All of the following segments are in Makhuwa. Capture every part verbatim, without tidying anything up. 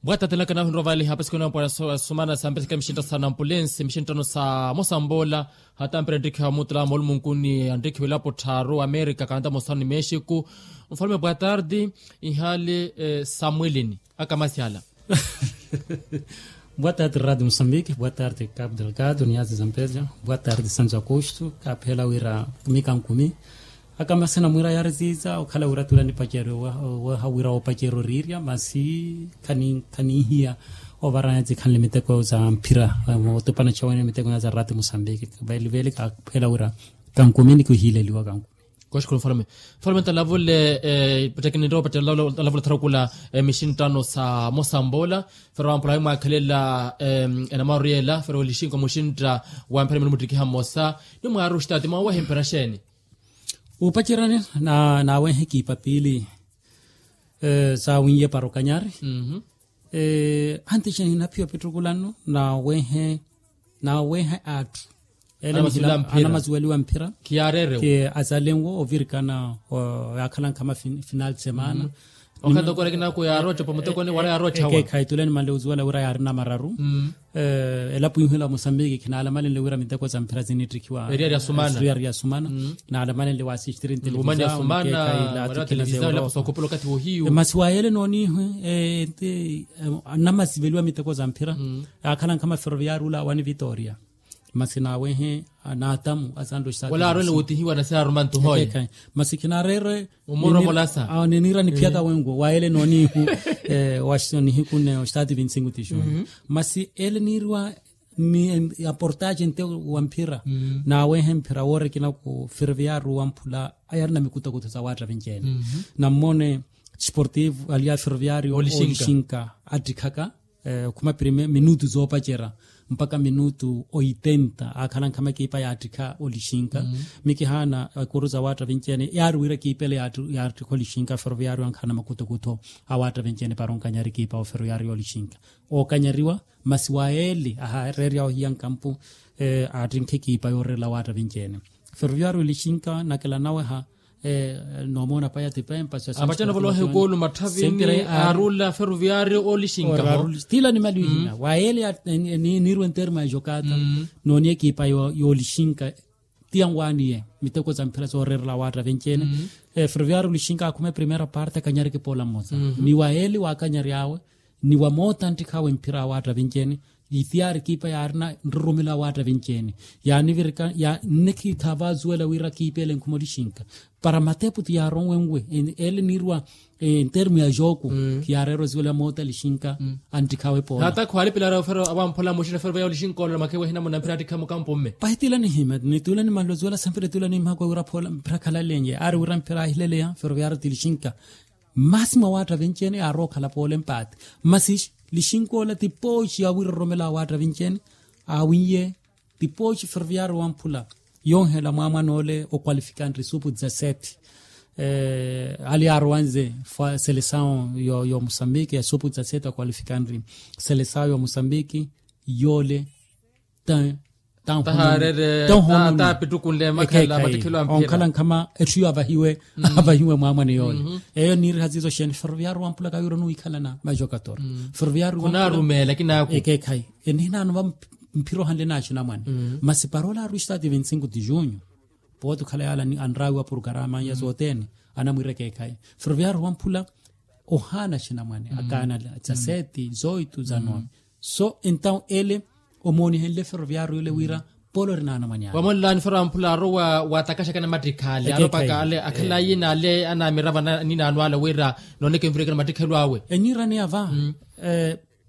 Bwata telaka nahu nrova liha pasikona pwa sumana sa mpeseke mishinta sa nampulensi mishinta no sa mosamboola. Hata mpira ntikhiwa mutula moolumunkuni antikhiwa elapo tharu amerika kantamo sanu ni mexiku. Mfalume bwatardi. Ihali samwilini akamasyala. Bwatardi radi musambiki bwatardi kapu delgado niyazi zampeja. Bwatardi sanzu akustu kaphela wira kumi kankumi. Akamasina mwira yariziza okhala wira tula nipaceri oweha wira opaceri orirya masi khanihiya. Ovaranya tsikhanle miteko za mphira otupana chawene miteko na za rati musambiki. Veli veli kaphela wira kankumi nikihileliwa kankumi. Koshukuru mfalume. Mfalume ntalavule patekini nrowa opatela talavula tharukula. Mixintano sa mosamboola fero wampula wimwakhelela enamaru yela fero lishinko muxintta wa mphira minu muttikiha mmosa. Nimwaaru xitaati mwawehe mphira xeeni? Upacerani nawehe kiipa piili. Saawiiye para okanyari anti xeeni naphiya opittukulanno nawehe nawehe atthu ele anamasuweliwa mphira. Khiyaarerewo. Azalenwo ovirikana yaakhala nkhama final de semana. Okhatakora kinaku yaaroocha pamuteko ni wala yaaroocha wa. Ekhayi tule nimanle ozuwela wira yaarina mararu. Elapo ihu ela wa mosambiki khinaalamalenle wira miteko za mphira zinittikhiwa eriyari ya sumana. Naalamalenle wa asistiri ntelevizao. Masi wayele noonihu namasiveliwa miteko za mphira. Akhala nkhama feroviari ula wani vitoria. Masi nawehe naatamu asanle oxitaati wala aarwene wutihiwa nasi aaruma ntuhoye. Masi khinarerwe omuromolasa. Niniira niphiyaka wenwo wayele noonihu wa nihiku nne oxitaati vinti sinku tixumu. Masi ele niiriwa aportaje nte wa mphira. Nawehe mphira woorikina ku ferroviario wamphula ayarina mikutokutho sa waatta vinci-ene. Nammone sportivo aliya ferroviario olixinka attikhaka okhuma piri minutu zoopacera mpakha minutu oitenta aakhala nkhama ekipa yaattikha olixinka. Mikihaana ekuru za waatta vinci-ene yaari wira ekipa ele yaattikha olixinka ferroviario ankhaana makutokutho awaatta vinci-ene para onkanyari ekipa oferroviario olixinka. Ookanyariwa masi wa eli ahareerya ohiya nkampu aattinkha ekipa yooreerela waatta vinci-ene. Ferroviario olixinka nakela naweha. Noomona paya tipempa apattana volohe ekoolu matthavini aarula ferroviario olixinka ho. Tila nimaliwihina wa eli niirwe ntermo ya jokata nooni ekipa yoolixinka. Tiyanwaaniye miteko za mphira sooreerela waatta vinci-ene. Ferroviario olixinka akhuma eprimeira parte akanyareke poola mmosa ni wa eli waakanyaryawe ni wa moota nttikhawe mphira awaatta vinci-ene. Itiyaari ekipa yaarina nrurumelo awaatta vinci-ene yaanivirika. Nnikhitha vaazuwela wira ekipa ele nkhuma olixinka para matepu ti yaaronwenwe ele niirwa ntermo ya joku. Khiyaareera ozuwela moota lixinka anttikhawe poola. Hata khwaalipilari ofero awamphola muxina fero vaya olixinka olola makhewe ehina muna mphira attikha mukampo mme. Pahi tila nihima nitula nimanle ozuwela sa mphira tula nimhakwe wira phola mphira khalalenye aari wira mphira ahileleya fero vaya aari ti lixinka. Masi mwa waatta vinci-ene aarookhala poola empaati masi lixinka ola ti pooxi awiroromela awaatta vinci-ene. Awiiye ti pooxi ferroviario wamphula yonhela mwaamwana ole okwalifikanri supu dezasete. Ali aarowanze selesawo yo mosambiki ya supu dezasete okwalifikanri selesawo yo mosambiki. Yoole ta tahaarere taapittukunle makhala mattikhelo a mphira onkhala nkhama etthu iyo avahiwe avahiwe mwaamwane yoole. Eyo niiriha ziizo xeeni ferroviario wamphula kawiira onuwikhalana majokatora. Ferroviario khunaarumeela kinaku ekeekhayi enihinaano va mphira ohanle naaxinamwane. Masi parola aruxitaati vinti sinku ti junho pooti okhala yaala anraawiwa porokarama ya sothene anamwiira ekeekhayi. Ferroviario wamphula ohaana axinamwane akaanala dezasete zoitu zanowe. So entawu ele omoonihenle ferroviario ole wira polo ori naanamwani ale. Wamonlaani fero amphula aro wa watakaxaka namattikha ale aro paka ale akhalayi na ale anamirava ninaano ale wira nooneke mvireke namattikhelo awe. Enyiirani ava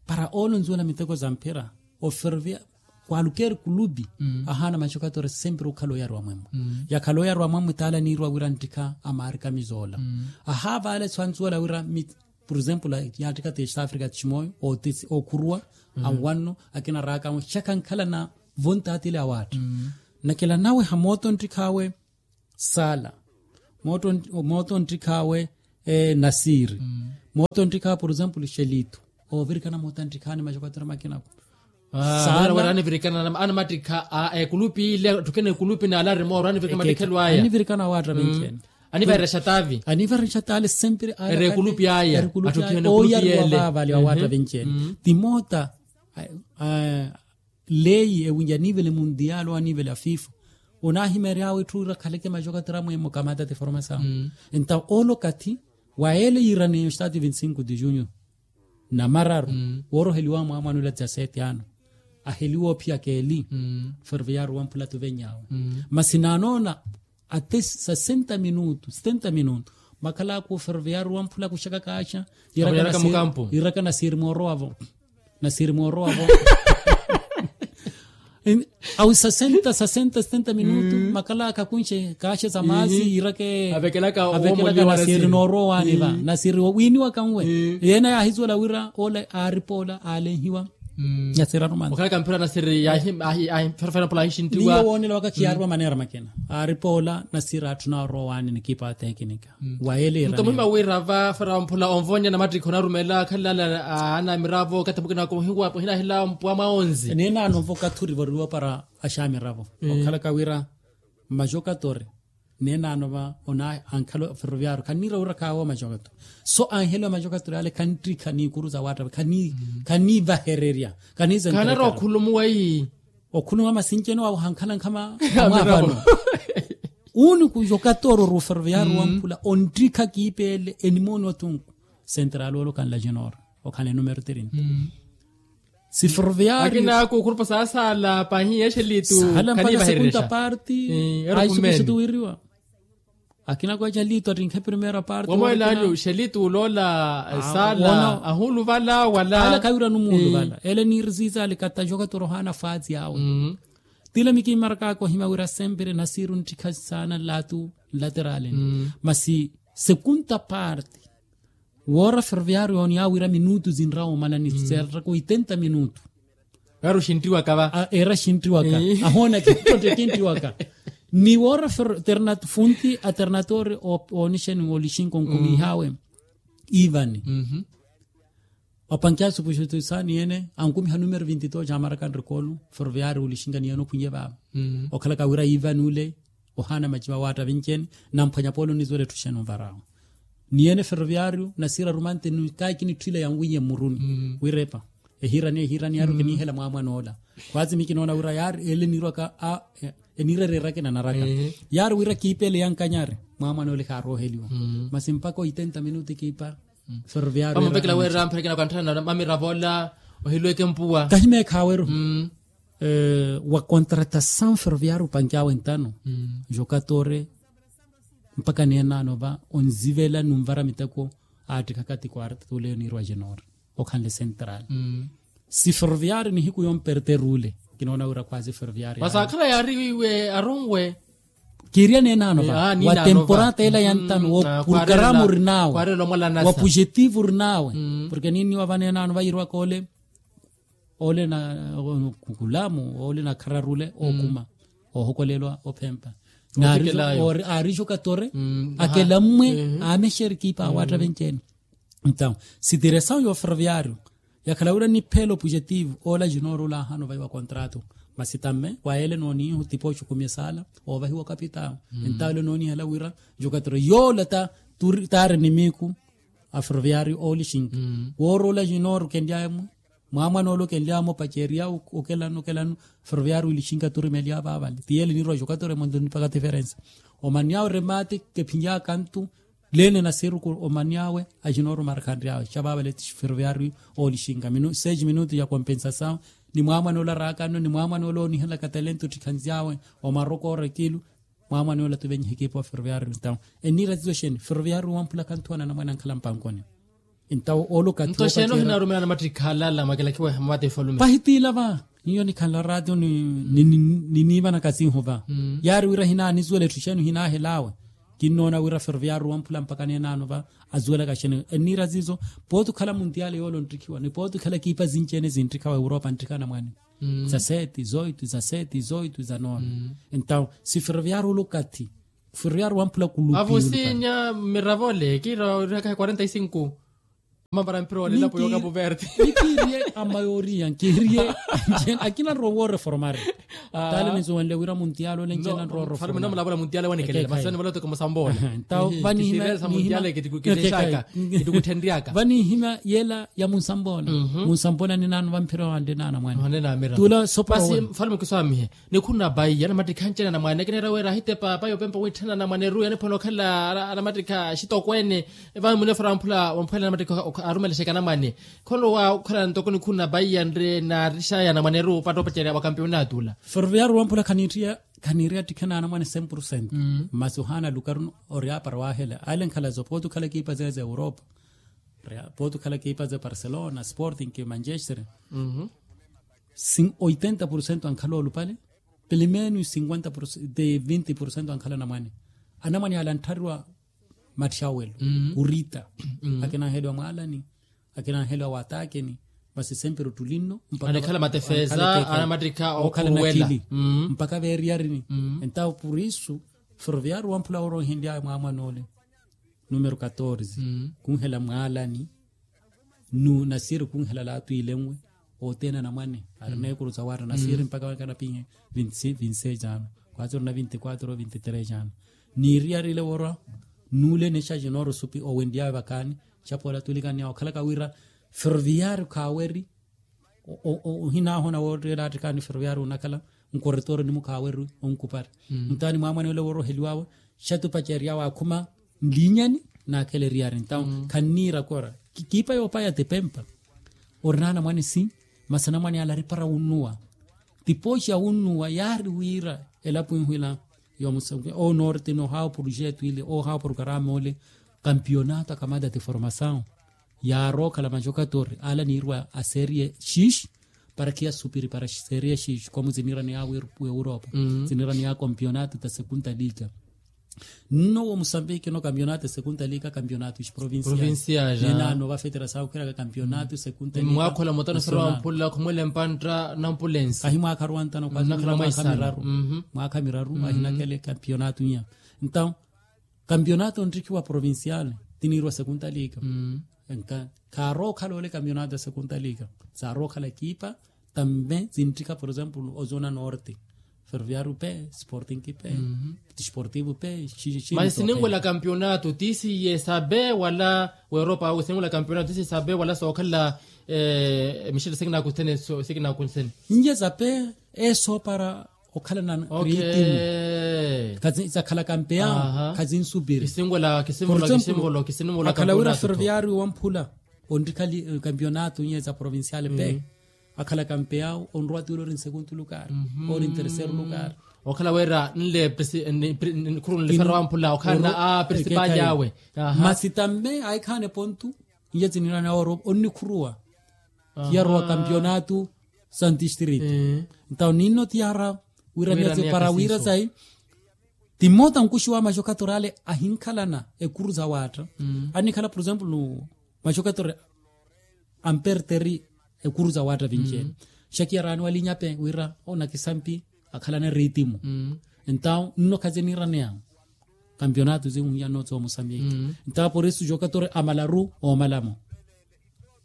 para oolonzuwela miteko za mphira oferovia kwalukeri kulupi ahaana maxokatore sempre okhala oyariwa mwemwe. Yakhala oyariwa mwemwe taala niiriwa wira nttikha amaarikamiza ola ahaava ale sanzuwela wira por exemplo yaattikha ti east africa tiximooyo ookhuruwa anwanno akina raaka anwe xaka ankhalana vontaatile awaatta. Nakela nawe ha mooto nttikhawe sala mooto nttikhawe nasiri mooto nttikhawe por exemplo xelito. Oovirikana mooto nttikhawe ni maxokatore makinaku sala wira anivirikana anamattikha ekulupi ile atthukene ekulupi naale arimooro anivirikana mattikhelo aya anivirikana awaatta vinci-ene. Anivarexa taavi. Anivarexa taale sempre. Ere ekulupi aya. Ooyariwa vaavali awaatta vinci ene. Timoota. Leyi ewi yanivele mundial wanivele afifa. Onahimery'awe etthu wira khaleke majoka tiramu emokamata tiformasawu. Enta olo kathi wa ele yiraneyo estati vinti cinco de junho. Namararu wooroheliwa mwaamwanula dizasete ano. Aheliwa ophiya keeli. Ferroviario wamphula tuveny'awe. Masi naanoona ate sesenta minutu setenta minutu. Makhalaka oferroviario wamphula kuxaka kaaxa. Yiiraka nasiiri moorowavo. Nasiiri moorowavo. Awi sesenta sesenta setenta minutu makhalaka akunxe kaaxe za maasi yiirake. Avekelaka nasiiri noorowaani va nasiiri wiiniwaka nwe. Yeena yaahizuwela wira ola aaripoola aalenhiwa. Nasiiri arumana okhalaka mphira nasiiri yaahiferofera pola aahixintiwa. Niyo woonelawaka khiyaariwa maneera makina. Aaripoola nasiiri atthu naorowaani ni ekipa ya tekinika. Wa ele nto muhima wira va fera mphula onvonya na mattikhi onarumela khalilala. Ana miravo kathi mukina wakomohiwa pohinahela mpwa mwa onzi. Neenano nvo kathi orivoriwa para axamiravo okhalaka wira majokatori. Neenano va ona ankhala ferroviario khanniira wira khaawo majokatori. So anheliwa majokatori ale khanttikha niikuru za waattave. Khaniivahererya. Khaniizenterekara okhulumuwa ii. Okhuluma masi ncene wawe ohankhala nkhama. Amwaavano. Uuni kujoka tooro ruferoviyaari wamphula onttikha kiipeele enimooni otunku. Sentrali olo khanla jenora okhala enumero trinta. Si ferroviyaari akina kukhulupa saasaala pahiya exelitu. Saala mpaka segunda parti. Aisukusutu wiriwa. Akina kweeca liitu attinkhe primera parti wamweelaanyu xelitu uloola. Saala ahuuluvala wala ala khawiirani omuuluvala ele niirisiisa alikatta jokatori ohaana faati awe. Tila mikiimarakaka ohima wira sempre nasiiri onttikha saana nlaatu nlateraleni. Masi segunda parti woora ferroviario ooni awiira minutu zinrawa omala ni serraka oitenta minutu. Era oxinttiwaka. Ahoona kinttotte kinttiwaka. Ni woora funti aternatore oonixeni olixinka onkumiih'awe. Ivani opankyasu puxutu saani ene ankumiha numero vinti dos jamaraka nrikolo. Ferroviario olixinka ni ene okhwiye vaava. Okhalaka wira ivani ule ohaana maciva waatta vinci ene. Namphwanya polo nnizuwela etthu xeeni onvar'awe. Ni ene ferroviario nasiiri arumante nikayi kinitthiile yanwiiye mmuruni. Wiira epa ehiirani ehiirani yaari okiniihela mwaamwan'ola. Khwaatsi mikinoona wira yaari ele niirwaka a eniira ereeraka enanaraka. Yaari wira kiipa ele yankanyari mwaamwan'ola ehaarooheliwa. Masi mpaka oitenta minutu ekiipa ferroviario. Vamuvekela weerera mpherekena kwantthana mamiravo ola ohilweke mpuwa kahimeekhaweru. Wa contratasawu ferroviario opanky'awe ntano. Jokatore mpaka neenano va onzivela nunvara miteko. Aattikhaka ti quarta tuleyo niirwa jenora okhanle central. Si ferroviario nihiku yomperteru ule kinoona wira khwaasi ferroviario masi akhala yaari wiiwe aronwe. Kiiriya neenano va wa temporata ela ya ntano wo programa orinawe wa pujetivu orinawe. Porke niinniwa va neenano va yiirwaka ole ole na kulamu ole na khararule ookuma oohokolelwa ophempa. Aarijo katore akelammwe aamexeri kiipa awaatta venci-ene. Entawu sitiresawu ya oferroviario yakhala wira nipheela opujetivu oola jinooro ole ahaana ovaiwa kontrato. Masi tamme wa ele nooniihu tipoxi okumi esaala oovahiwa okapitawu. Entawu ele noonihela wira jokatore yoola taari nimiiku aferroviario oolixinka wooroola jinooro kenly'aye mwe mwaamwan'ole okenly'awe mwe opacerya okelano okelano. Ferroviario olixinka turimely'awe vaavale ti ele niirwa jokatore mwanto nipaka tiferensa. Omanny'awe remate kephinly'aka ntu leene nasiiruku omanny'awe ajinooro marakhanry'awe xa vaavale ti ferroviario oolixinka. Seis minutu ya kompensasawu ni mwaamwan'ole araakano ni mwaamwan'ole oonihelaka talento ottikhanz'awe omarokoora ekilu. Mwaamwan'ola tuvenyiha ekipa wa ferroviario entawu eniira tizo xeeni ferroviario wamphula khanthuwana anamwane ankhala mpankoni. Entawu olo kathi nto xeeni ohinarumela namattikhala ala mwakilakhiwa mwatefalume pahitiila va. Iyo nikhanla ratio niniivanaka sinhu va yaari wira hinaanisuwela etthu xeeni ohinaahelawe. Kinnoona wira ferroviario wamphula mpaka neenano va azuwelaka xeeni eniira zizo. Pooti okhala muntiyale yoole onttikhiwa ni pooti okhala ekipa zinci-ene zinttikhawa europa nttikha anamwane. Za sete zoito za sete zoito za nove. Entawu si ferroviario olo kathi ferroviario wamphula kulupi avusinya mmiravole kiira orihaka quarenta y cinco. Mambara mpira wa lilapo yoka puverte. Nikiriye a mayoria nkiriye. Akina nrowa oreformari. Tale ninsuwenle wira muntiale ole njena nrowa oreformari. Ntawo vanihimya yela ya munsambola. Munsambola ninaano vampira wande naana mwane. Tula sopora wene. Mfalme kiswamihe. Nikhuna paiya anamattikha anci anamwane akinera wira ahitepa paiya opempa witthana anamwane ruya niphwela okhala anamattikha axitokweene. Vano munefera wamphula wamphwela anamattikha arumelexeke anamwane. Kholowa okhala ntoko nikhuna paiya nre naarixaya anamwane ru patta opacerya wa kampiyonatu ula. Ferroviario wamphula khaniitthiya khaniiri attikhe naanamwane cem por cento. Masi ohaana lukaru ori apara wahela ale nkhala zo pooti okhala ekipa zeza europa. Pooti okhala ekipa ze barcelona sporting ki manchester. Oitenta por cento ankhala olupale. Pelo menos cinquenta por cento de vinti por cento ankhala anamwane. Anamwane ala antthariwa matthi awelo kurita. Akinanheliwa mwaalani akinanheliwa watakeni. Masi sempre ottuli nno mpaka anamwane ala matefeza anamattikha okhala na khili mpaka veeriyarini. Entawo por isu ferroviario wamphula worohenlyawe mwaamwan'ole numero katorze kunhela mwaalani. Nu nasiri kunhela laatwilenwe othene anamwane arina ekuru za wara nasiri mpaka wakanapinhe. Vinse jano kwatsi orina vinti kwatro vinti tres jano. Niiriyarile worwa nule nexaji nooro supi owenlyawe vakaani. Xapola tulikaniya okhalaka wira ferroviario khaaweri. Ohinahona wootteela attikhaani ferroviario onakhala nkoretooro ni mukhaawerwi onkupari. Ntaani mwaamwane ole wooroheliwawe xatupaceryawe akhuma nlinyani. Naakhela eriyari ntawo khanniira kora kiipa yoopaya tipempa. Orina anamwane si masi anamwane ala aripara wunnuwa. Tipooxi ya wunnuwa yaari wira elapo inhwila yoomusa onorte nohaawa projeto ile ohawa programa ole. Kampionato akamata tiformasawu yaarookhala majokatori ala niirwa a serie xiixi para khiyasupiri para serie xiixi komu ziniiraneya weuroopa. Ziniiraneya kampionato ta sekunta liga. Nno wo musambiki no kampionato sekunta liga kampionato xiprovincial. Ninaano vafetera saakhukhiraka kampionato sekunta liga. Mwakhola mutano sera wamphula khumwele mpantta nampulensi. Kahi mwakha aruwantano kwatsi mwakha miraru. Mwakha miraru ahinakele kampionato iya. Ntawo kampionato ontthikiwa provincial tiniirwa sekunta liga. Kaarookhala ole kampionato ya sekunta liga. Saarookhala ekipa tambe zintthika por exemplo ozona norte. Ferroviario pe sporting pe desportivo pe. Masi sininwela kampionato tisiye sabe wala weropa awe sininwela kampionato tisiye sabe wala sookhala. Mixele sikinakuthene sikinakuthene. Nye sabe esoopara okhala na riitimu. Zakhala kampeyawo khazinsupiri. Kisinvola kisinvola kisinvola kisinvola akhala wira kampeonato wamphula onrikha kampeonato inye za provincial pe. Akhala kampeyawo onrowa tiwira ori nsekuntu lukari ori nterceru lukari. Okhala wira nle khuru nlifera wamphula okhala na a principal yawe. Masi tamme aikhaane pontu inye zinirana oro onnikhuruwa. Hiyarowa kampionato santi street. Ntawo ninno tiyara wira miyazi para wira sayi. Timota nkuxi wa maxokatori ale ahinkhalana ekuru za waatta. Annikhala por exemplo maxokatori amperteri ekuru za waatta vinci ene. Xakiyarani walinya pe wira onakisampi akhalana eritimu. Ntawo nno khaziniiraneya kampionato zinhuya nno tsomusamiya. Ntawo por isu xokatori amalaru omalamo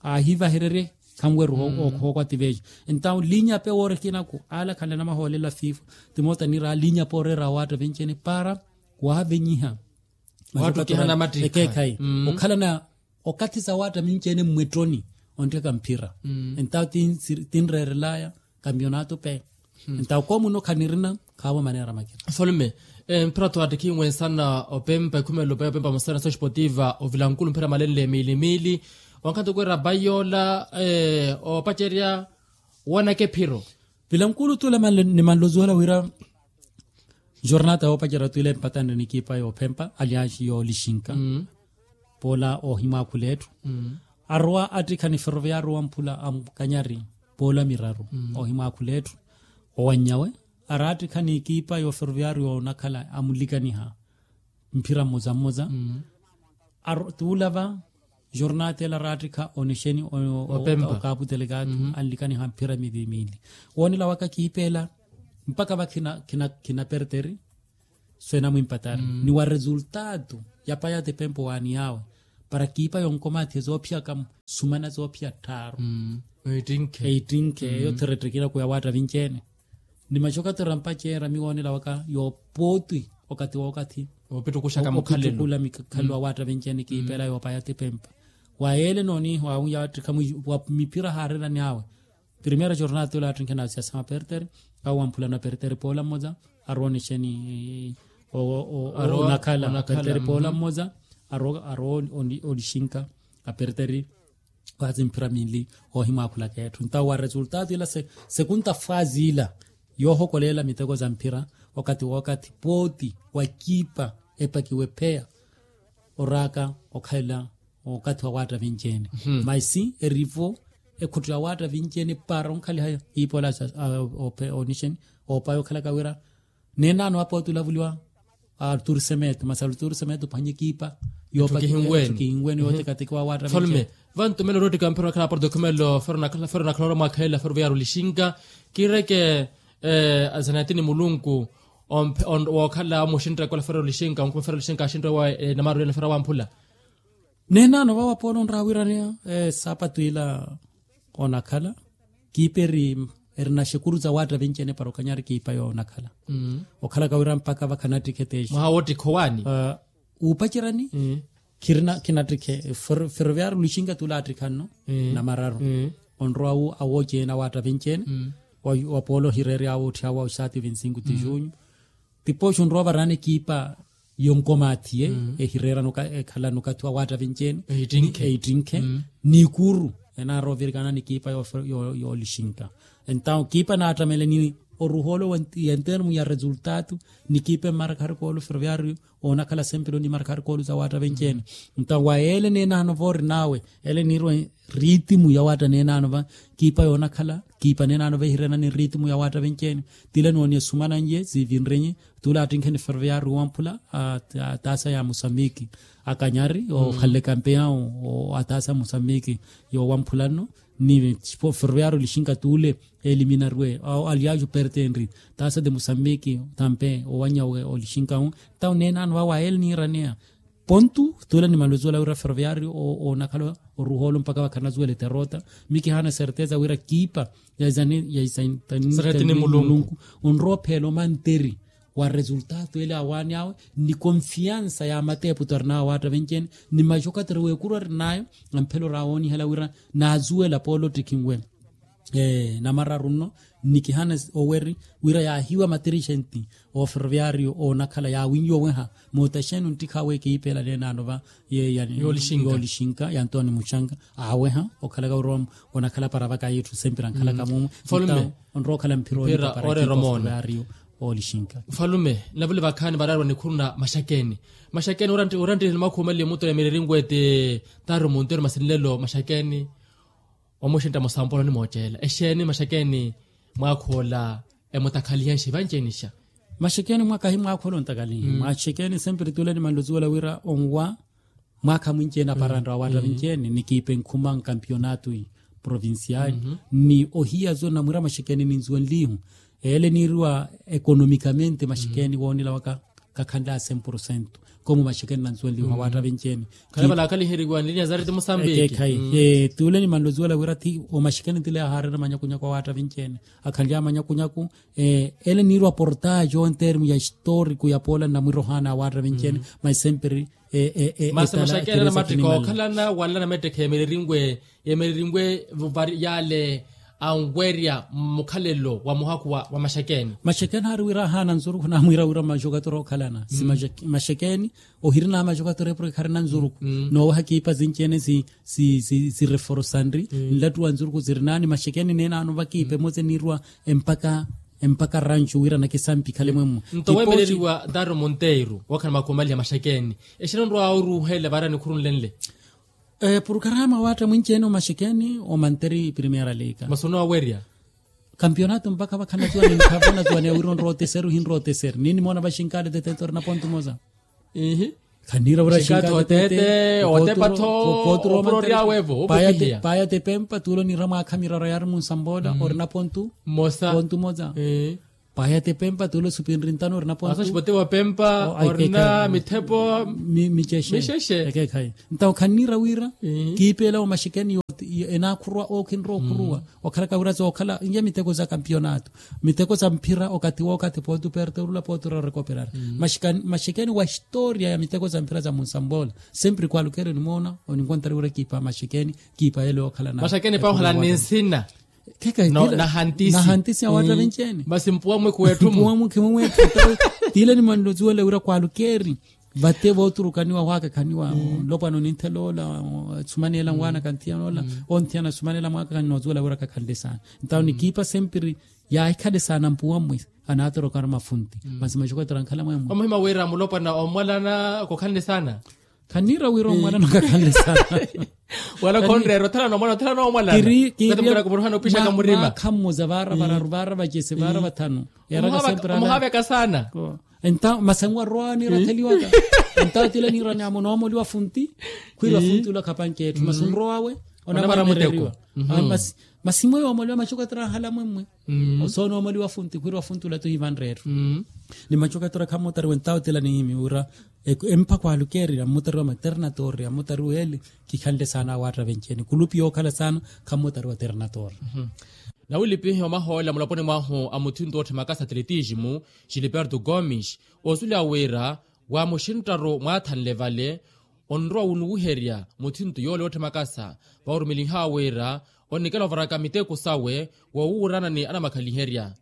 aahivahererye khanweru. Hookwati vejo ntawo linya pe woori ekinaku ala khanle namahoolela fifa. Timoota niira linya pe oreera waatta vinci ene para waavenyiha. Ekeekhayi okhalana okathi sa waatta vinci ene mmwettroni. Onttheka mphira ntawo tinreerelaya kampionato pe. Ntawo koomuno khanirina khaavo maneera makina. Mfulume mphira twaattikhi nwensana opempa ekhumelo pe opempa musana soxpotiva ovilankulu mphira malenle miili miili. Wankhanto kweera pai yoola oopacerya wanaka ephiro. Vilankulu tula nimanlozuwela wira jornata yoopacerya tula empatanre nikipa yoophempa aliansi yoolixinka poola oohimwaakhula etthu. Arowa attikha ni ferroviario wamphula amukanyari poola miraru oohimwaakhula etthu. Owanyawe araattikha n'ikipa y'oferoviario onakhala amulikaniha mphira mmoza mmoza. Tuulava jornatela araattikha onexeni okaaputele kaathu anlikaniha mphira mili mili. Woonela waka kiipeela mpaka va khinaperteri. Swena mwimpatari ni wa resultado ya paya tipempo waani yaawe. para kiipa yonkomathi ezoophiyaka sumana zoophiya tthaaru. Eittinkhe. Eittinkhe eyo therettekina kuya waatta vinci-ene. Ni maxokatera mpaceera miwoonela waka yoopooti okathi wookathi. Opittukula mikhalelo awaatta vinci-ene kiipa ela yoopaya tipempa. Wa yeele nooniiha waawi yaattikha wa miphira haareerani awe. Primeira jornada tula attinkhe na siasa mapertere. Awo wamphulana pertere poola mmoza. Arowa onixeni onakhala pertere poola mmoza. Arowa onixinka apertere. Waasi mphira minli oohimwaakhulaka etthu ntawo wa resultado ila sekunta faazi ila yoohokoleela miteko za mphira. Wakathi wookathi pooti wa kiipa epakiwe pheya oraaka okhalela okathi wa waatta vinci-ene. Maisi erivo ekhuttiwa waatta vinci-ene para onkhaliha kiipa ola onixeni oopaya okhalaka wira neenaano apooti olavuliwa. Aluturisemeto masi aluturisemeto phwanya ekiipa yoopakihinwene yootekateki wa waatta vinci-ene. Vantumelo roottika mpira wakhala aporto khumelo fero nakhala ora mwakhalela fero veyari olixinka. Kiireke azanatini mulunku wookhala omuxinttaka ola fero olixinka onkhuma fero olixinka axinttaka wa namaru ene fero awamphula. Neenaano vawa polo onraha wira niya esaapatu ila onakhala kiipa eri erina xekuru za waatta vinci-ene para okanyari kiipa yoonakhala. Okhalaka wira mpakha vakhanattikhe teexi mwaha woottikha owaani. Uupacerani khirina khinattikhe ferroviario lixinka tula attikha nno namararu onrowa awoocena waatta vinci-ene. Wa polo hireeri awo otthiyawa oxaati vinsingu ti junyu. Tipooxi onrowa ovaraana ekiipa yonkomaathiye ehireerana ekhalana okathi wa waatta vinci-ene. Eittinkhe n'ikuru enaara ovirikana n'ikiipa yoolixinka. Entawo kiipa naattamele ni oruhoolo yentermu ya resultado n'ikiipa emmarakha arikoolo ferroviario oonakhala sempelo ni markha arikoolo za waatta vinci-ene. Entawo wa yeele neenaano va orin'awe ele niirwe ritimu ya waatta neenaano va kiipa yoonakhala kiipa neenaano va ehireerana ni ritimu ya waatta vinci-ene. Tile nooniya sumana nye zivinrenye tula attinkheni ferroviario wamphula ataasa ya musambiki akanyari okhalle kampeya ataasa musambiki yowamphula nno ni ferroviario lixinka tule eliminarwe aliaju pertenri taasa de musambiki tampe owanya olixinka wu. Tawu neenaano vawa ele niiraneya pontu tule ni maluzuwela wira ferroviario onakhala oruhoolo mpakha vakharina zuwela eterota. Mikihaana serteza wira kiipa ya isaintanini mulunku onrowa opheela omanteri wa resultado ele awaani awe ni konfiansa ya mateeputo arinawe awaatta vinci-ene ni maxokatera w'ekuru arinayo amphela orawoonihela wira naazuwela polotiki nwe namararu nno. Nikihana oweri wira yaahiwa matirixenti oferoviario oonakhala yaawinyoweha mootaxeni onttikhawe kiipela neenaano va yeeya yoolixinka yantooni muxanka aaweha okhalaka oroma onakhala para vaka yitthu sempira ankhalaka mumu. Onrowa okhala mphira oolika para kiipela oferoviario oolixinka. Nfalume navule vakhaani varaariwa nikhuru na maxakeni maxakeni oranttihela mwakha omaliye mutto ya mireerinwe ti taari omunteru masi nlelo maxakeni. Omuxintta mosampolo onimoocela exeeni maxekeni mwaakhoola emutakhalihenxa evanceenixa. Maxekeni mwakahi mwaakhoola ontakalihi maxekeni sempre tule nimanluzuwela wira onwa mwaakha mwinci-ene aparantta wa waatta vinci-ene nikiipa enkhuma nkampionatu provincial ni ohiya zona mwira maxekeni ninzuwenlihu. Ele niiriwa ekonomikamente maxekeni woonela waka kakhanlaya cem porcento. Komu maxekeni nanzuwenlihu awaatta vinci-ene khale valaakaliheriwa nlinya zareti musambiki. Tule nimanlozuwela wira ti omaxekeni tile ahaarera manyakunyaku awaatta vinci-ene akhanlaya manyakunyaku. Ele niiriwa portajo entermu ya historiku ya poola nnamwira ohaana awaatta vinci-ene. Mas sempre masi maxekeni anamattikha okhalana wanlana mettekha emererinwe emererinwe yale anwerya mmukhalelo wa muhakhu wa maxekeni. Maxekeni haari wira ahaana nzurukhu namwiira wira maxokatoro okhalana si maxekeni ohirina maxokatoro epuro ekharina nzurukhu noowaha kiipa zinci-ene si si si si reforsanri nlattuwa nzurukhu zirinaani maxekeni neenaano vakiipa emoze niiriwa empaka empaka ranchu wira nakisampi khale mwemmo. Nto weemeleriwa ntari omonteiru wookhana makhumaliha maxekeni exina onrowa oruuhela vaari anikhurunlenle. Purkarama waatta mwinci-ene omaxekeni omanteri primeira liga masi onowawerya kampionato mpakha vakhanatuwa ni nkhavanatuwa ni awirwa onrowa oteseru hinrowa oteseru niinimoona vaxinkale tetete orina pontu moza. Ihi khaniira vura xinkale tetete otepa tho opuro oryawevo opaya tepempa tulo niira mwaakha miraro yaari munsamboola orina pontu moza. Pontu moza. Pahete pempa tule supinri ntano orina pontu. Aso xipote wa pempa orina mithepo. Michexe. Ekeekhayi. Ntawo khanniira wira kiipeela wa maxikeni enaakhurwa ookhinrowa okhuruwa. Okhalaka wira zookhala iya miteko za kampionato, miteko za mphira okathi wookathi pooti uperta orula pooti orera orekoperara. Maxikeni wa historia ya miteko za mphira za munsambola. Sempre kwalukeri onimoona oninkontari wira kiipa maxikeni. Kiipa yelo yookhala na maxakeni pahuhala ni nsina. Nahantisi. Nahantisi awaatta venci ene. Masi mpuwa mwe khuwetthu mpuwa mwe khimumwetthu. Tiile nimanlosiwela wira kwalukeri vate vooturukaniwa waakakhaniwa. Nlopwana onintheloola. Sumaniyela nwaana kanthiyanoola. Onthiya na sumaniyela mwaakakhani noosiwela wira kakhanle saana. Ntawo nikiipa sempiri yaahikhale saana mpuwa mwe. Anaatoroka ori mafunti. Masi maxokotera ankhala mwemwe. Omuhima wira mulopwana omwalana kokhanle saana. Khanniira wira omwalana okakhanle saana. Wala khonreera othalana omwalana othalana omwalana. Kiri kiri. Mwaakha mmoza vaara vararu vaara vacesi vaara vathanu. Yaraka sempirala omuhaveka saana. Enta masangu arwani ratheliwaka. Enta tila nirani amo noomoliwa funti. Khwiri wa funti ula khapanke etthu masunro awe. Onamaramereriwa. Masi mwe yoomoliwa maxokotera ahala mwemwe. Oso noomoliwa funti khwiri wa funti ula tuhivanre etthu. Ni maxokotera khammotariwe entawo tila nihimi wira empakho alukeeri ammutariwa maternatoori ammutariwa eli. Kikhanle saana awaatta venci ene kulupi yookhala saana. Khammutariwa ternatoori. Nawilipihe omahoolela mulaponi mwahu a muthinto ootthe makasa atletismo, gilberto gomes, oosuleya wira wa muxinttaru mwaathanle vale onrowa wunuwiherya muthinto yoole ootthemakasa. Vawurumeliha wira onnikela ovaraka miteko sawe woowuurana ni anamakhaliherya.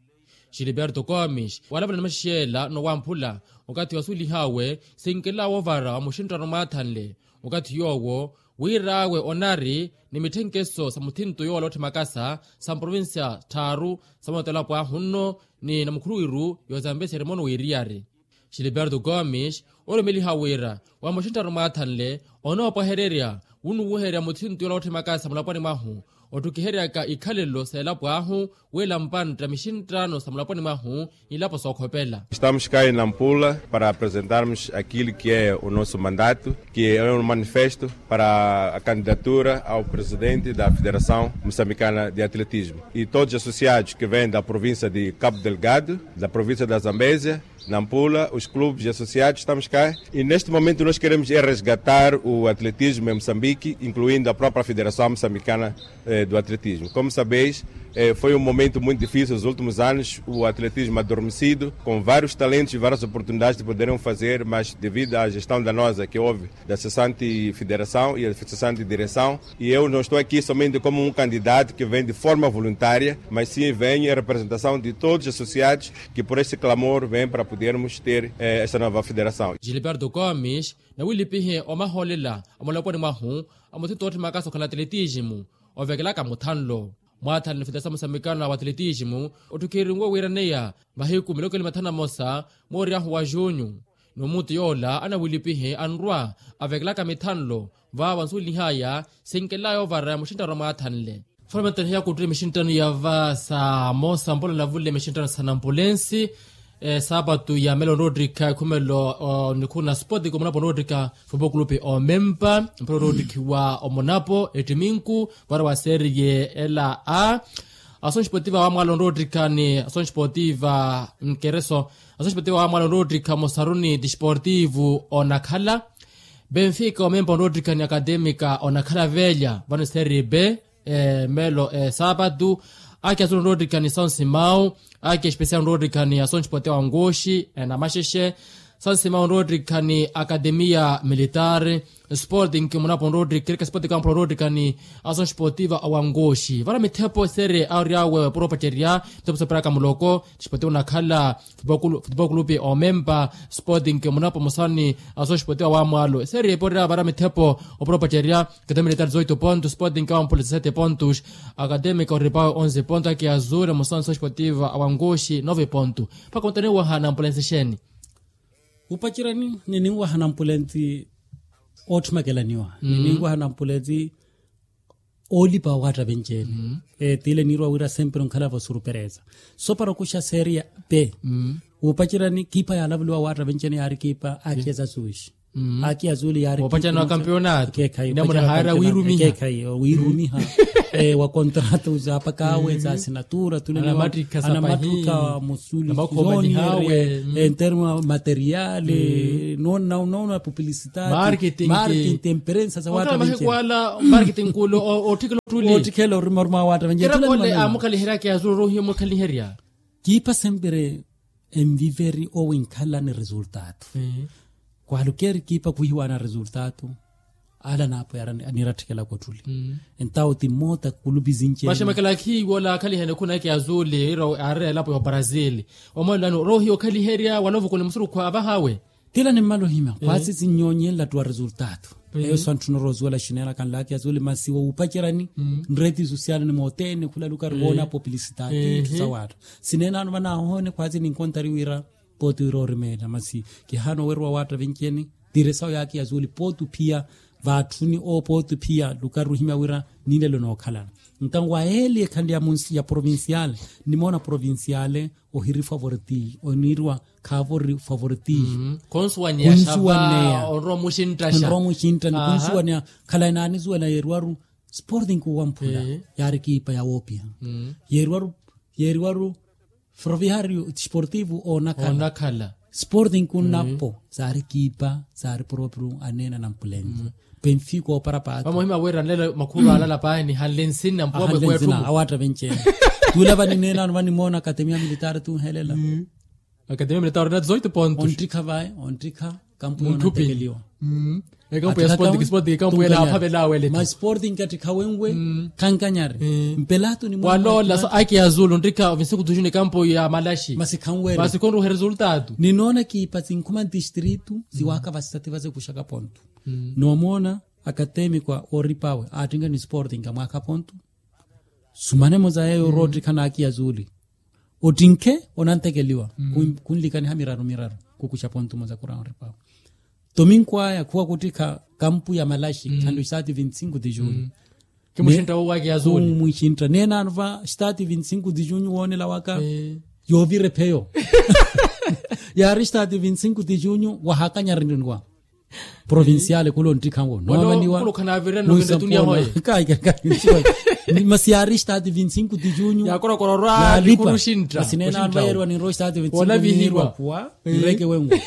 Gilberto gomes walavula ni maxixela nowamphula okathi wasuwelihaawe sinkelaya woovara wa muxinttaru mwaathanle okathi yoowo wir'awe onari ni mitthenkeso sa muthinto yoole ootthemakasa sa mprovincia tthaaru sa mootelapo ahu nno ni namukhuluwiru yoozambeseri mono wiiriyari. Gilberto gomes orumeliha wira wa muxinttaru mwaathanle onoopwahererya wunuwuherya muthinto yola wootthimakasa mulapwani mwahu otthukiheryaka ikhalelo s'elapo ahu wila mpantta mixinttano sa mulapwani mwahu. Ilapo sookhopela. Estamos cá em Nampula para apresentarmos aquilo que é o nosso mandato, que é um manifesto para a candidatura ao presidente da Federação Moçambicana de Atletismo e todos os associados que vêm da província de Cabo Delgado, da província da Zambésia, Nampula, os clubes e associados, estamos cá. E neste momento nós queremos é resgatar o atletismo em Moçambique, incluindo a própria Federação Moçambicana do Atletismo. Como sabeis, foi um momento muito difícil nos últimos anos, o atletismo adormecido, com vários talentos e várias oportunidades de poderem fazer, mas devido à gestão danosa que houve da cessante federação e a cessante direção, e eu não estou aqui somente como um candidato que vem de forma voluntária, mas sim vem em representação de todos os associados que por este clamor vêm para podermos ter esta nova federação. Gilberto Gomes nawilipihe omahoolela a mulaponi mwahu a muthinto ootthimaka sookhana atletismo ovekelaka muthanlo. Mwaathanle federasamu sa mikano wa atletismo otthukhirinwe wiiraneya mahiku miloko ili mathanu na mosa mooryahu wa junyu. N'umutu yoola anawilipihe anrwa avekelaka mithanlo vaawa nsuwelihaya sinkelaya oovara ya muxinttano mwaathanle. Folomentene hiyakuttule mixinttano ya va sa mosa mpola navule mixinttano sa nampulensi. Saapatu ya melo onroottikha ekhumelo nikhuna sport komunapo onroottikha fupo kulupi omempa mpelo onroottikhiwa omunapo ettiminku vara wa serie ela a. Asoxi potiva wa mwala onroottikha ni asoxi potiva nkereso asoxi potiva wa mwala onroottikha mosaruni tisportivu onakhala benfika omempa onroottikha ni akademika onakhala velya vano serie b. Melo saapatu aki azulu onroottikha ni são simão aki especial onroottikha ni asoxi potiva wa nkuxi namaxexe são simão onroottikha ni akademia militar. Sporting munapo onroottikha erika sporting kampo onroottikha ni asoxi potiva wa nkuxi vano mithepo serie a oryawe puro opacerya mithepo sooperaka muloko. Tisportivu onakhala futebol kulupi omempa sporting munapo musani asoxi potiva wa mwalo serie eporya vano mithepo opuro opacerya. Katamiletari zoito pontos sporting awampula sete pontos. Akademika oripawe onze pontos aki azure musani asoxi potiva wa nkuxi nove pontos. Mpakha ontaniwaha nampulentsi exeeni. Upacerani nininwaha nampulentsi oottimakelaniwa nininwaha nampulentsi oolipa owaatta venci-ene. Tiile niirwa wira sempre onkhala vosurupereza sopara okuxa seria pe. Upacerani kiipa yaalavuliwa owaatta venci-ene yaari kiipa aceza suxi. Aki azuli yaari opacana wa kampionato. Namuna haari awiirumiha. Wa kontrata za paka awe za asinatura tuli anamattuka musuli zoni. Enterma materiali nona nona publicitari marketing temperensa za wata. Marketing kula ottikela otuli ottikela orima orima wata venje. Kira kole amukhaliherya kiazulu rohiyo mukhaliherya. Kiipa sempere enviveri owinkhala ni resultatu. Kwalukeri kiipa kwihiwana resultatu. Ala naapo yara aniratthikela kottuli. Entawo ti moota kulupi zinci maxe makalakhi wola akhalihene khunaki azuli ira ari elapo ya brazil. Omwalulano rohiyo okhaliherya wala ovukuni musurukhwa avahawe. Tila nimmala ohimya khwasi sinnyonyenlattu wa resultatu. Eyo santthuna oroosuwela xinela kanlaaki azuli masi wowupacerani nreti sosiali ni mootene khula lukari woona publicitati ttu sawaattu. Sinenaano vanahoone khwasi ninkontari wira pooti wira orimeela masi kihaana oweruwa waatta vinci-eni. Tiresawo yaaki yazuli pooti ophiya vaatthuni oo pooti ophiya lukari ohimya wira ninlelo nookhalana. Ntanwa yeeli ekhanle ya provinciale nimoona provinciale ohiri favoritismo oniirwa khaavo ori favoritismo. Khunsuwaneya onrowa muxinttaxa onrowa muxintta ni khunsuwaneya. Khalayi naanisuwela yeeriwaru sporting kuwamphula yaari kiipa yawoopiha. Yeeriwaru yeeriwaru ferroviario desportivo oonakhala sporting kunnapo. Saari kiipa saari proprio aneena nampulento. Penfico opara paati vamohima wira nlelo makhuru alala paani hanle nsina mpuwa mwekwetthumu awaatta venci-ene. Tuula vanineenano vanimoona akatemia militari tunhelela. Akatemia militari na dezoito pontos onttikha vaye onttikha kampu yoona ntekeliwa. Ekampu ya sporting sporting ekampu yela aphavela awele ma sporting kattikha wenwe. Khankanyari mpelato ni waloola so aki azulu onttikha vinsiku tujuni ekampu ya malaxi masi khanwela masi khonruhe resultatu. Ninoona kiipa sinkhuma ntistritu siwaaka vasati vasekuxaka pontu. Noomoona akatemikwa ooripa awe aattinka ni sporting amwaakha pontu. Sumane muza yeeyo oroottikha n'aki ya zuuli ottinkhe onantekeliwa. Khunlikaniha miraru miraru khukuxa pontu muza khurawa oripawa. Tominku aya khuwa khuttikha kampu ya malaxi khanlu estaati vinti sinku ti junyu. Khumuxintta woowaki ya zuuli khumuxintta neenaano va estaati vinti sinku ti junyu woonela waka yoovira epheyo. Yaari estaati vinti sinku ti junyu wahakanyariniwa. Provinciale khula onttikhanwo noovaniwa. Masi yaari estaati vinti sinku ti junyu yaalipa. Masi neenaano vayeeriwa ninrowa estaati vinti sinku ninirwa phuwa nreke wenwo.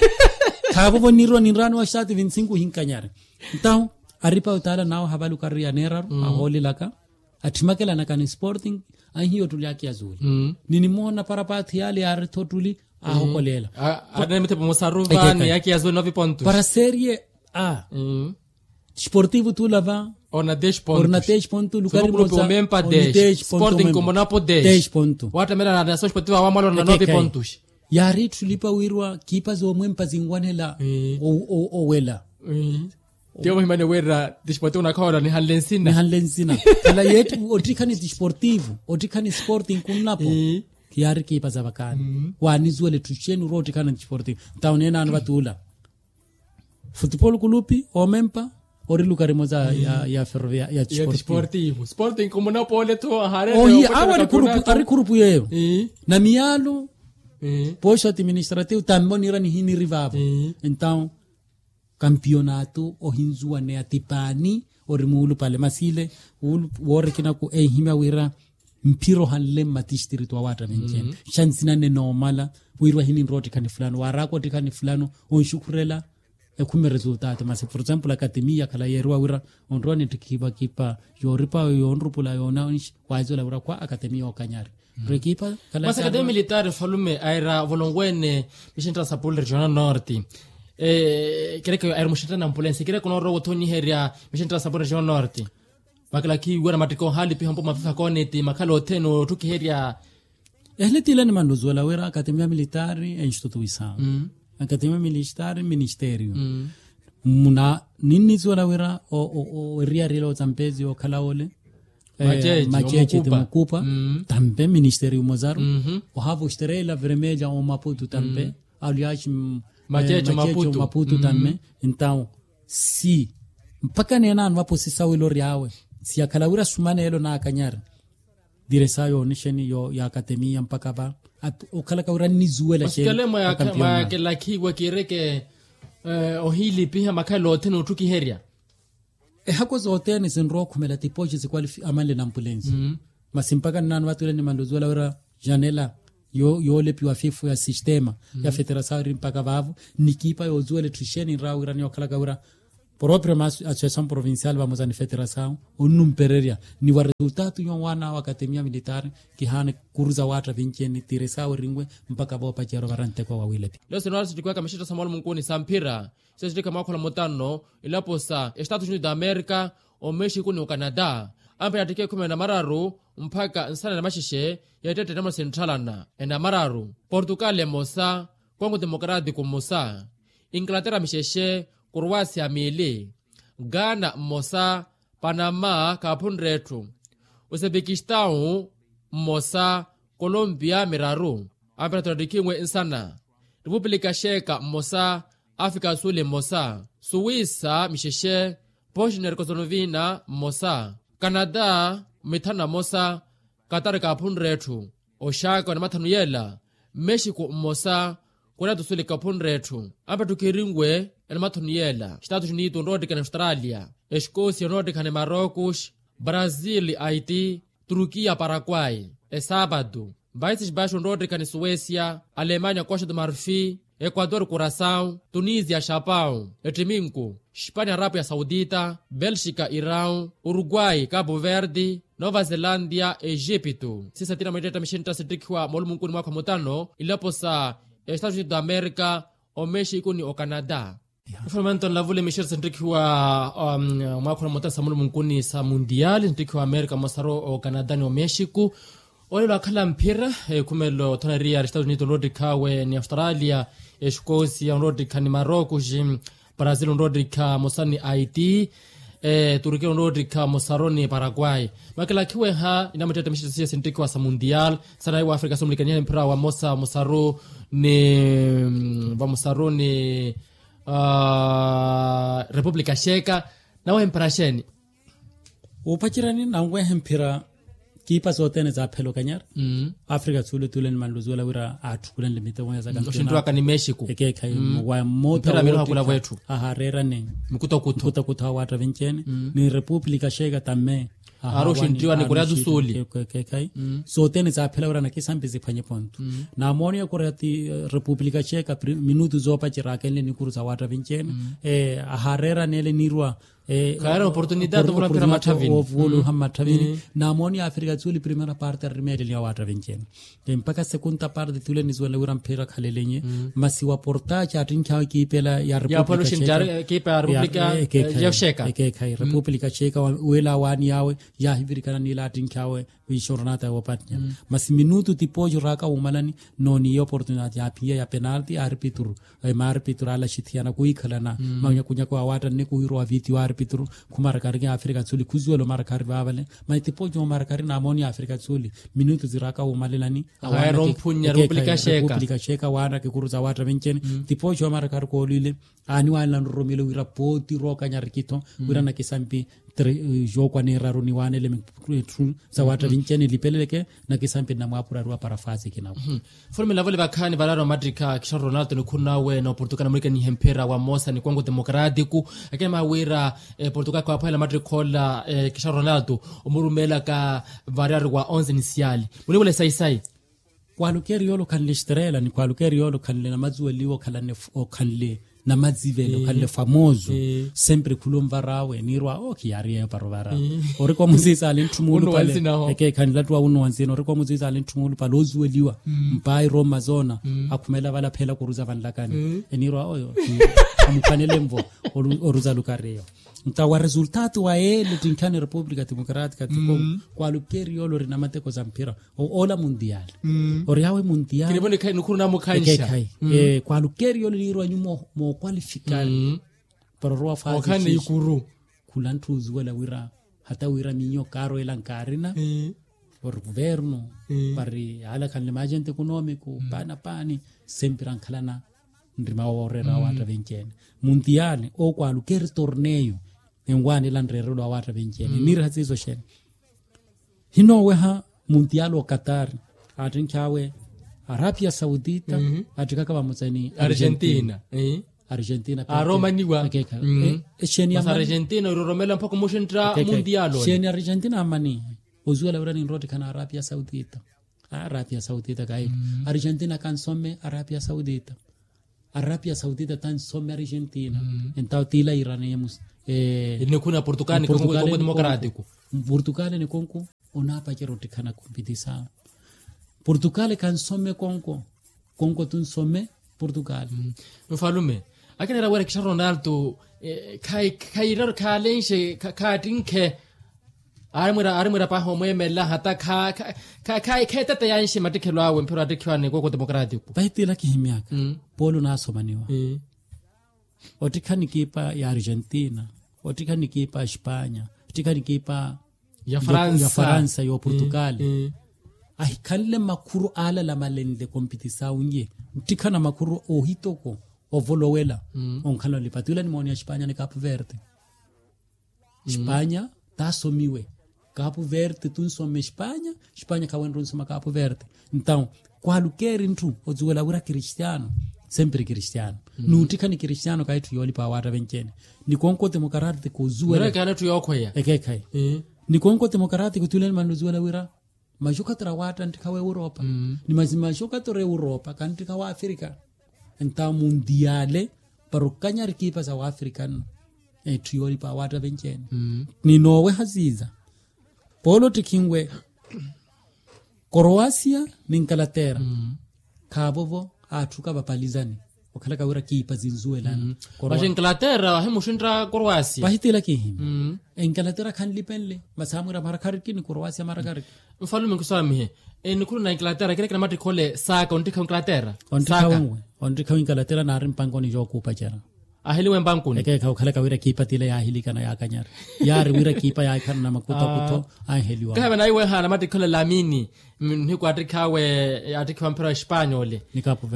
Khaavo vonirwa ninraaniwa estaati vinti sinku hinkanyari. Ntahu aripa otaala nawe havalukari yaneeraru ahoolelaka attimakelanaka ni sporting. Ahiyo ottuli aki ya zuuli ninimoona parapaathi yaale yaari-tho ottuli ahokoleela. Anemetepo musaruva ni aki ya zuuli novipontus para serie a. Sportivo tuula va ona dex pontu lukari mosa. Omempa dex sporting komonapo dex pontu. Waattamela na sportivo awamala ona novipontus. Yaari etthu lipa wiirwa kiipa zoomwempa zinwanela owela. Tiyo muhimani wira ti sportivo nakhawola nihanle nsina nihanle nsina. Khala yeetti ottikhani ti sportivo ottikhani sporting kunnapo. Khiyaari kiipa za vakaani waanisuwela etthu xeeni orwa ottikhana ti sportivo. Ntawo neenaano vatuula futupolo kulupi omempa ori lukari moza ya ferrovia ya sportivo. Sporting komonapo ole tho ahaarele ohiya awe ari khurupu yeeyo na miyaalo. Poxo administrativo tambe oniira nihiniri vaavo. Entawo kampionato ohinzuwaneya ti paani ori muulupale masi ile woorikinaku enhimya wira mphira ohanle mmatistritu awaatta venci-ene. Xa nsina nne noomala wiirwa hininrowa ottikhani fulano waaraaka ottikhani fulano onxukhurela. Ekhumi resultatu masi por example akatemia khala yeeriwa wira onrowa nittikhipa kipa yooripa yoonrupula yoona onxi waahizola wira khwa akatemia okanyari. Masi akatemia militari falume aira volongwene mixintra sapul regional norte. Kireke aira muxintra na ampulensi kireke onoorowa othonyiherya mixintra sapul regional norte. Vakilakhiwe na mattikha ohalipiha mpo mafifa koneti makhala othene otthukiherya. Ehele tiilani mannuzuwela wira akatemia militari enstitutuisawe akatemia militari ministeriyo. Muna ninnizuwela wira eriyari ela otampezi okhala ole macheche ti mukupa tampe ministeriyo mozaru. Ohaava osterela vermelha omaputu tampe aliaxi macheche omaputu tampe. Entawo si mpakha neenaano vapo sisawela ori awe siyakhala wira sumaneelo naakanyari. Diresa yoonixeni yo ya akatemia mpakha va okhalaka wira nnizuwela xeeni. Mwayakelakhiwa kireke Ohiilipiha makhalelo othene otthukiherya. Ehako zothene sinrowa okhumela tipoxi sikwalifi amanle na ampulensi. Masi mpakha nnaano vatule nimanle ozuwela wira janela yoolepiwa fifu ya sistema ya federasawu eri mpakha vaavo. Nikiipa yoozuwela etthu ixeeni nrawa wira ni okhalaka wira proprio ma associasawu provincial vamosa ni federasawu onnumpererya ni wa resultatu nyo waana awo akatemia militari. Kihaana kuruza waatta vinci-ene tiresawu erinwe mpakha voopacerya ovara nteko wa wiilepi. Leyo sinoora sittikiwaka mixetta sa mwalumunku ni sa mphira. Sesittikha mwaakhula mutano ilapo sa estatu unido amerika, omexiku ni ocanada. Ampira attikha ekhumi na mararu mpakha nsana na maxexe ya ettette namuna sintthalana. Ena mararu portugal emosa, kongo demokratiku mmosa, inglaterra mixexe, koroasia miili, ghana mmosa, panama kaaphunre etthu, uzebekistau mmosa, kolompia miraru. Ampira tottikhinwe nsana, repupulika xeeka mmosa, afrika suli mmosa, suwisa mixexe, bosnia herkosonovina mmosa, kanada mithanu na mmosa, katari kaaphunre etthu, oxaka wa namathanu yeela, mexiku mmosa, korea tu suli kaaphunre etthu. Ampira ttukhirinwe enamathanu yeela estatus unido onroottikha ni australia, exkosia onroottikha ni marocos, brazil, haiti, turkiya parakwai, esapatu, baisi xbaxi onroottikha ni suwesia, alemania koxa tu marfi, ekuator kurasawu, tunisia xapawu, ettiminku, xpania arapu ya saudita, belxika irawu, urukwai kapu verdi, nova zelandia, exipitu. Sisatina mwittetta mixintta sittikhiwa moolumunkuni mwaakha mutano ilapo sa estatu unido amerika, omexiku ni ocanada. Nfulumanto nlavule mixintta sittikhiwa mwaakha mutano sa moolumunkuni sa mundial sittikhiwa amerika mosaru ocanada ni omexiku. Olelo akhala mphira, ekhumelo thoneriya estatu unido onroottikhawe ni australia, exkosia onroottikha ni marocos, brazil onroottikha mosa ni haiti, turkiya onroottikha mosaru ni parakwai. Makilakhiweha inamuttettemixitta siya sinttikhiwa sa mundial, sanaiwa afrika sumulikaniha mphira wa mosa mosaru ni vamosaru ni repupulika xeeka. Nawe mphira xeeni? Wuupacerya ni nanwehe mphira kiipa sothene saaphela okanyari. Afrika suule tuule nimanle osuwela wira aatthukulenle miteko ya sakampiona oxinttiwaka ni mexico. Ekeekhayi wa mmotta ahareerane mukutakutha awaatta vinci-ene ni repupulika xeeka tamme. Aari oxinttiwa ni korea tu suuli. Ekeekhayi sothene saaphela wira nakisampi siphwanye pontu. Namooniya korea ti repupulika xeeka minutu zoopacerya aakenle nikuru sa waatta vinci-ene. Ahareeraneele niirwa khaari oportunidade ovola mphira matthavini. Ovooluha mmatthavini. Namooniya afrika suuli primera parte arimeeleliwa waatta vinci-ene. Mpakha sekunta parte tuule nisuwela wira mphira khalelenye. Masi wa portaci attinkhawe kiipela ya repupulika xeeka. Ekeekhayi repupulika xeeka wela awaani yawe yaahivirikana niila attinkhawe. Ixoronata yoopattinya masi minutu tipooxo raaka wuumalani. Nooniiya oportunidade yaaphiya ya penalti aarpituru. Maarpituru aala axithiyana kwiikhalana manyakunyako awaatta nne kuwiirowa vitiyo aarpituru. Khumarakari ya afrika suuli khusuwela omarakari vaavale. Masi tipooxo omarakari naamooniya afrika suuli minutu ziraaka wuumalelani. Awaana kikurutsa awaatta vinci-ene. Tipooxo omarakari koolwile aaniwaanela nroromelo wira pooti rookanya rikitho wira nakisampi. Jookwa neeraru niwaanele etthu sa waatta vinci-ene lipeleleke nakisampi nnamwaapurariwa para faasi kinawo. Mfulume nlavole vakhaani varaari omattikha kixaru ronaldo nikhuru nawe na oportugal namulikanihe mphira wa mosa ni kongo demokratiku. Akina maawira portugal khwaapwahela mattikha ola kixaru ronaldo omurumeelaka. Varaari wa onze ni siali munivule sayi-sayi. Kwalukeri yoole okhanle estrela ni kwalukeri yoole okhanle namazuweliwa okhanle namazivelo okhanle famoso. Sempre khula onvar'awe niirwa owo khiyaari yeeyo para ovara. Orikwa muziiza ali ntthu muulupale. Ekeekhanle attuwa wunuwa nzina orikwa muziiza ali ntthu muulupale ozuweliwa mpaayi rooma zoona. Akhumela vale apheela kuruza vanlakani eniirwa oyo. Amukhanele nvo oruza lukari eyo. Nta wa resultatu wa yeele ttinkhani repupulika demokratika tiko. Kwalukeri yoole ori na mateko sa mphira. Oola mundiali ori awe mundiali. Ekeekhayi kwalukeri yoole niirwa nyuma mookwalifikali para orowa faazi. Khula ntthu ozuwela wira hata wira miyo kaarwela nkaarina ori kuvernu. Pari alakhanle maajenti ekonoomiku paana paani. Sempira nkhalana nrima wooreera awaatta venci-ene mundiali okwalukeri torneyo. Enwaanela nreerelo awaatta venci-ene niira siiso xeeni? Hinooweha mundiali okatari attinkhi awe arapia saudita attikaka vamosa ni argentina. Argentina aromaniwa. Exeeni argentina iroromela mpaka omuxentta mundial ole. Argentina ammanihe ozuwela wira ninroottikhana arapia saudita. Arapia saudita kayi argentina kansome arapia saudita. Arapia saudita tansome argentina. Entawo tiila iraniye musi. Nikhuna portugal nikonko. Portugal nikonko. Onaapacera ottikhana kompitisawo. Portugal kansome konko. Konko tunsome portugal. Nfalume akinera wira kixaronalto. Khayiraru khalenxe khaattinkhe. Arimwira arimwira pahi omweemela hata kha kha kha kha kheetete yanxe mattikhelo awe mphiro attikhiwa ni koko temokratiko. Pahi tiila kihimyaka. Polo naasomaniwa. Ottikhani kiipa ya argentina. Ottikhani kiipa ya espanya. Ottikhani kiipa ya faransa ya portugal. Ahikhanle makhuru aalala malenle kompitisawu nye. Nttikhana makhuru ohitoko ovolowela. Onkhala olipatwila nimooni ya espanya ni capu verde. Espanya taasomiwe. Capu verde tunsome espanya. Espanya khawenre onsoma capu verde. Ntau kwaalukeeri ntthu ozuwela wira kristiano. Sempiri kristiano. Nuuttikha ni kristiano kahi etthu yoolipa awaatta venci-ene. Ni konko temokarati kozuwela. Ni konko temokarati kutuleni mannuzuwela wira maxokatoro awaatta nttikha wa europa. Ni maxokatoro europa kanttikha wa afrika. Entawo mundiale para okanyari kiipa sa waafrika nno. Etthu yoolipa awaatta venci-ene. Ni nooweha siiza polo ottikhinwe koroasia ni nkalateera. Khaavovo atthuka vapalizani okhalaka wira kiipa zinzuwelana. Pahi nkalateera ahimuxintta koroasia. Pahi tiila kihimya. Enkalateera khanlipenle masi amwira marakhariki ni koroasia marakhariki. Nfalume nkiswamihe. Enikhulu na enkalateera kila kina mattikha ole saaka onttikha enkalateera. Onttikha wewe. Onttikha wewe enkalateera naari mpankoni jookuupacera. Aheliwe mpankoni. Ekeekha okhalaka wira kiipa tila yaahilikana yaakanyari. Yaari wira kiipa yaahikhala na makutakutho. Anheliwa kahive naiweha na mattikha ole lamini. Nihiku attikhawe attikhiwa mphira wa espanyole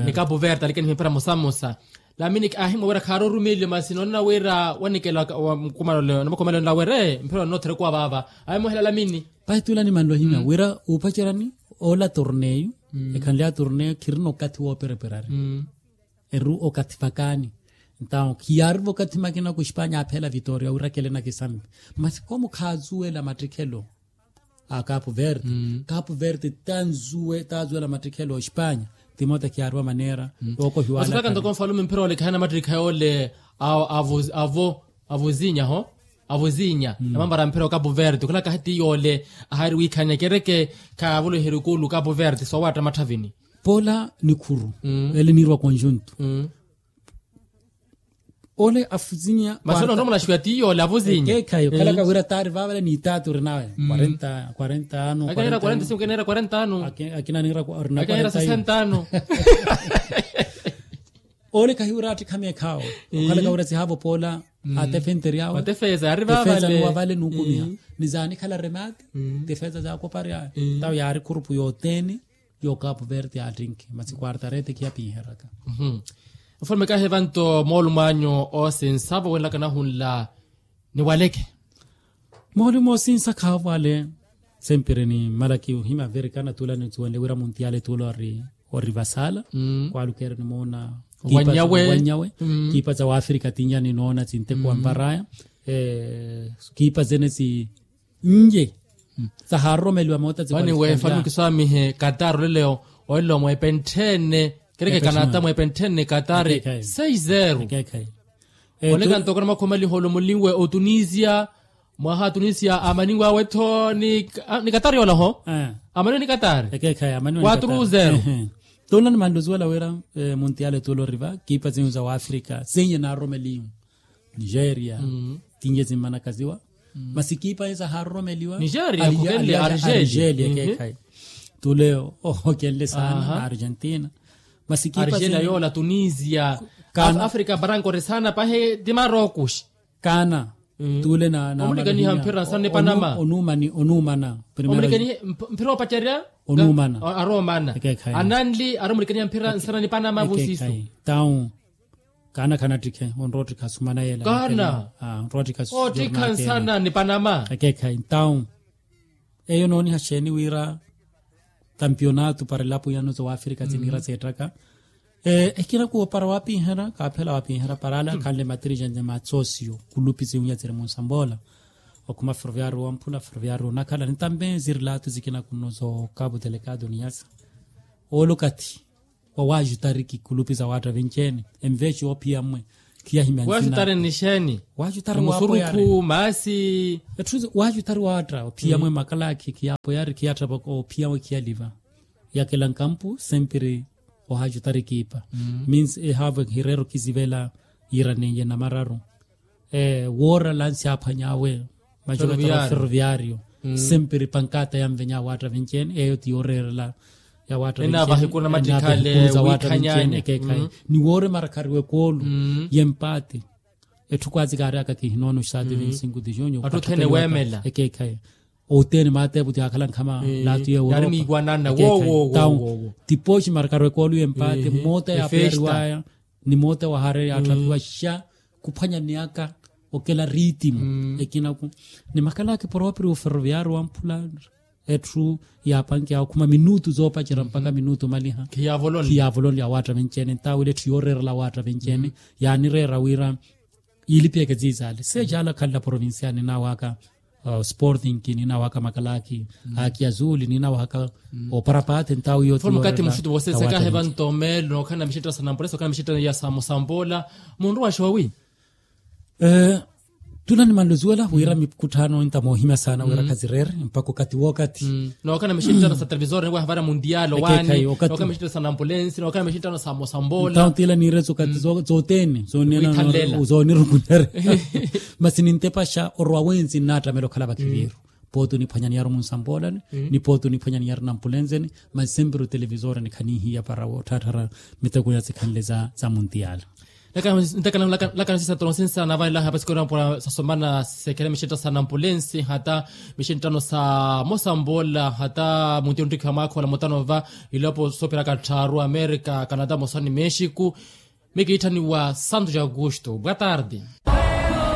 ni capu verde alike nihimpira musamusa. Lamini ahimwa wira khaari orumiliyo masi noonana wira wanikela mukumana ole namukumana ole nawere mphira onootherekiwa vaava. Ahimwa ohela lamini. Pahi tula nimanle ohimya wira uupacerani ola torneyu. Ekhanle ya torneyu khirina okathi woopereperari. Eru okathi vakaani. Entawo khiyaarivo okathi makina ku espanya aphela vitoria wira kele na kisambi. Masi komu khaazuwela mattikhelo a capu verde. Capu verde tanzuwe tazuwela mattikhelo a espanya. Timote khiyaariwa maneera. Yookohiwala ntoko nfalume mphira ole khayana mattikha yoole. Avo avo avo avuzinya ho avuzinya namambara mphira wa capu verde okhalaka hati yoole. Ahaari wiikhanya kereke khaavoloherya okulu capu verde soowatta matthavini. Pola nikhuru ele niiriwa conjunto. Ole afuzinya masi ole onromola xiwa tiyo ole avuzinya. Ekeekhayi okhalaka wira taari vaavale ni taati orinawe. Quarenta quarenta ano quarenta ano. Akinanira sesenta ano. Ole khahiwira attikha meekhaawe okhalaka wira sihaavo poola atefenteryawe. Atefesa ari vaavale nuukumiha ni zaanikhala remati. Tefesa zaakoparyawe tawe yaari khurupu yothene. Yo capu verde attinkhi masi quarta rete khiyapinheraka. Mfulume kahi evanto moolumo anyu oosinsa vawenlaka nahunla niwaleke. Moolumo oosinsa khaavwale. Sempiri ni mmalaki ohima verikana tula nisuwenle wira muntiyale tula ori ori vasala. Kwalukeeri nimoona kiipa za waafrika tinya ninoona sinteko wamparaya. Kiipa zene si nje sahaaroromeliwa moota zikwanikisamihe katari oleleo. Olelo mweepentthene kerekekanata mweepentthene katari. Seis zero. Oneka ntoko na makhomaliho olomulinwe otunisia mwaha atunisia amaniwawe-tho ni katari yolaho. Amaniwe ni katari watru zero. Tuna ni manluzuwela wira muntiyale tula oriva kiipa zinyu za waafrika zenye naaroromeliwe nigeria. Tinye zimmanakaziwa masi kiipa eza haaroromeliwa nigeria. Argelia ekeekhayi tule ohokenle saana na argentina. Masi kiipa argelia yoola tunisia kana afrika baranka ori saana pahi ti marokuxi. Kana tule na omulikaniha mphira nsana ni panama onuumani onuumana. Omulikanihe mphira opacerya onuumana aroomana. Ananli ari omulikaniha mphira nsana ni panama vusisu. Tawu kaana khanattikhe onroottikha sumana yela kaana onroottikha nsana ni panama. Ekeekhayi ntawu eyo nooniha xeeni wira kampionato para elapo yano za waafrika siniira seettaka. Ekina kuwo para wapiihera kaaphela wapiihera para ale akhanle matirija ni matsosiyo kulupi siwunya tsiri munsamboola. Okhuma ferroviario wamphula ferroviario onakhala nitambe zirilato zikina kuno zo kabu telekado niyasa. Olo kathi wa wajutariki kulupi za watta vinci ene envexi oophiya mmwe. Khiyahimya nzina wajutariki nixeeni? Wajutariki wapoyari musurukhu maasi. Etthu wajutariki watta ophiyamwe makalakhi khiyapoyari khiyattapaka ophiyamwe khiyaliva. Yakela nkampu sempiri ohajutariki ipa. Means ehaavo ehireero khizivela yiira neiye namararu. Woora lansi aphwany'awe majola tara ferroviario. Sempiri pankata yanvenya watta vinci ene eyo ti yooreerela ya watta vinci ene. Ekeekhayi ni woore marakhariwa ekoolu y'empaati. Etthu kwazi kaaryaka kihinoono saati vinci sinku ti junyo. Ekeekhayi oteene maateepu ti aakhala nkhama laatu y'eworopa. Tawo ti pooxi marakhariwa ekoolu y'empaati moota yaapoyariwaya. Ni moota wahareya atthu apiwa xa khuphwanya niyaka okela riitimu. Ekinaku ni makhalakhi poropiri uferroviario wamphula. Etthu yaapankiya okhuma minutu zoopacerya mpakha minutu omaliha khiyavolonle ya watta vinci ene ntaawile etthu yooreerela watta vinci ene. Yaanireera wira yiilipiyeke ziizaale seecaala khanla provincial ninaawaka sporting ninaawaka makalakhi. Aki azuli ninaawaka oparapaate ntawu yootiyo. Mukati muxitu vooseseka hevanto meelo nookhala na mixitano sa nampolesi nookhala na mixitano ya samosambola. Munru wa xoowi. Tuna nimanluziwela wira mikutthano nta moohimya saana wira khazireere mpakha okathi wookathi. Nookhala na mixitano sa televisor niwaha vara mundial owaani nookhala na mixitano sa nampulensi nookhala na mixitano sa mosambola. Ntawo tila niireso okathi zooteene zoonirukunere. Masi nintepaxa orowa wensi nnaattamela okhala vakhiviiru. Pooti oniphwanya niyari omunsamboolani ni pooti oniphwanya niyari nampulenzeni. Masi sempiri otelevisoreni khanihiya para wootthatthara miteko ya sikhanle za muntiyala. Ntakana nlakano sisa toronsinsa navanilaha pasikoro nampula sasomana sekhela mixinttano sa nampulensi hata mixinttano sa mosamboola hata muntiyo nttikhiwa mwaakha ola mutano va ilopo soopiraka tthaaru amerika kanada mosani mexiku. Mikiitthaniwa santo ja augusto boa tarde.